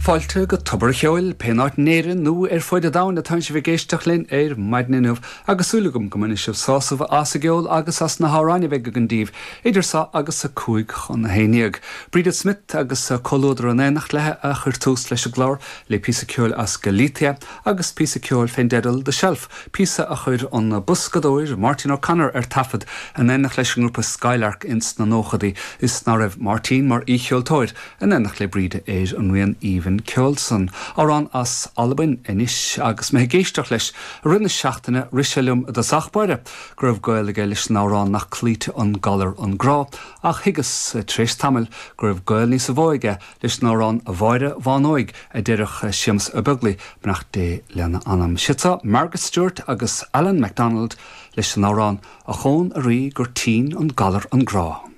Fáilte go Tobar a' Cheoil, pé in áit in Éirinn nó ar fuaid an domhain atánn sibh ag éisteacht linn ar maidin inniu agus súil agam go mbainfidh sibh sásamh as an gceol agus as na hamhráin a bheidh againn daoibh idir seo agus a 10:55. Bríde Smith agus comhluadar in éineacht léi a chuir tús leis an gclár le píosa ceoil as Galicia agus píosa ceoil fén dteideal The Shelf, píosa a chuir an boscadóir Máirtín O'Connor ar taifead in éineacht leis an ngrúpa Skylark ins na nóchadaí is ná raibh Máirtín mar aoicheoltóir in éineacht le Bríde ar an rian aoibhinn ceoil san. Amhrán as Albain anois agus mé ag éisteacht leis i rith na seachtaine rith sé liom i dtosach báire go raibh gaol aige leis an amhrán Nach Cloíte an Galar an Grá ach thuigeas tar éis tamaill go raibh gaol níosa mhó aige leis an amhrán A Mháire Bhán Óig a deireadh Séamus Ó Beaglaoich, beannacht Dé lena anam. Siad seo Margaret Stewart agus Allan MacDonald leis an amhrán A Chón a Rí gur tinn an galar an grá.